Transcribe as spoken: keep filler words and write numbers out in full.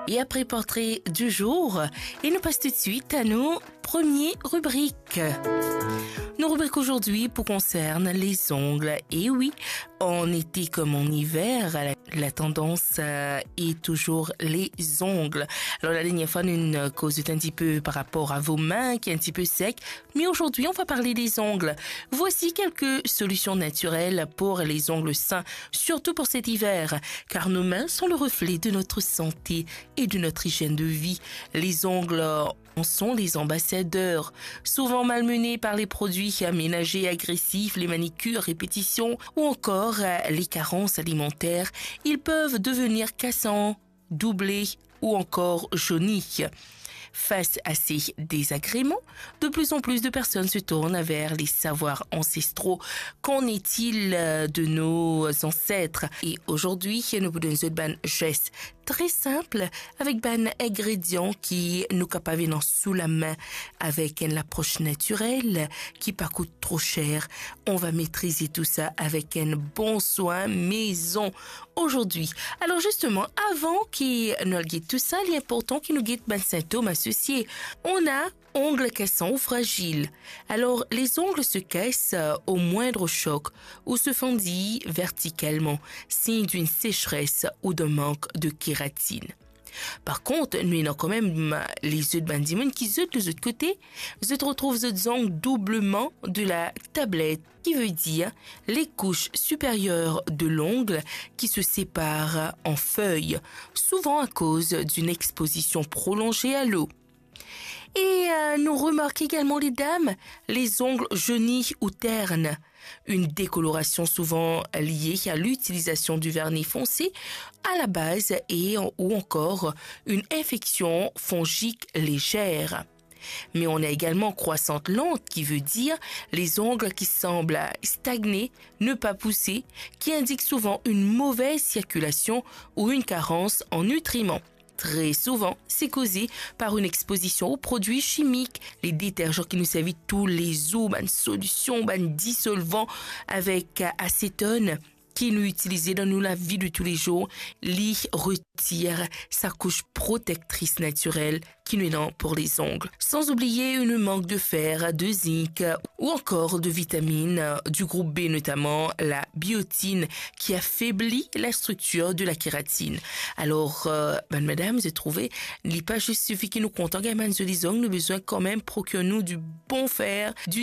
Et après portrait du jour, et nous passe tout de suite à nos premières rubriques. Nos rubriques aujourd'hui pour concerne les ongles. Et oui, en été comme en hiver, la, la tendance euh, est toujours les ongles. Alors la dernière fois, nous avons causé un petit peu par rapport à vos mains qui est un petit peu sec, mais aujourd'hui, on va parler des ongles. Voici quelques solutions naturelles pour les ongles sains, surtout pour cet hiver, car nos mains sont le reflet de notre santé et de notre hygiène de vie. Les ongles en sont les ambassadeurs. Souvent malmenés par les produits ménagers agressifs, les manicures, répétitions ou encore euh, les carences alimentaires, ils peuvent devenir cassants, doublés ou encore jaunis. Face à ces désagréments, de plus en plus de personnes se tournent vers les savoirs ancestraux. Qu'en est-il euh, de nos ancêtres? Et aujourd'hui, nous vous donnons une bonne geste très simple avec bann ingrédients qui nous capavinent sous la main avec une approche naturelle qui pas coûte trop cher. On va maîtriser tout ça avec un bon soin maison aujourd'hui. Alors justement, avant que nous guettions tout ça, il est important que nous guettions bann symptômes associés. On a ongles cassants ou fragiles. Alors, les ongles se cassent euh, au moindre choc ou se fendillent verticalement, signe d'une sécheresse ou d'un manque de kératine. Par contre, nou ena kanmem lezot bann dimoun ki zot de zot kote, zot retrouv zot zong doubleman de la tablette, qui veut dire les couches supérieures de l'ongle qui se séparent en feuilles, souvent à cause d'une exposition prolongée à l'eau. Et euh, nous remarquons également les dames, les ongles jaunis ou ternes, une décoloration souvent liée à l'utilisation du vernis foncé à la base et ou encore une infection fongique légère. Mais on a également croissante lente, qui veut dire les ongles qui semblent stagner, ne pas pousser, qui indique souvent une mauvaise circulation ou une carence en nutriments. Très souvent, c'est causé par une exposition aux produits chimiques, les détergents qui nous servent tous les jours, une solution, un dissolvant avec euh, acétone qui nous utilisons dans nos la vie de tous les jours, li retire sa couche protectrice naturelle qui nous donne pour les ongles. Sans oublier une manque de fer, de zinc ou encore de vitamines euh, du groupe B, notamment la biotine qui affaiblit la structure de la kératine. Alors, euh, ben, madame, j'ai trouvé, il n'est pas juste suffit que nous comptons, ben, les ongles, nous besoin quand même procurer nous du bon fer, du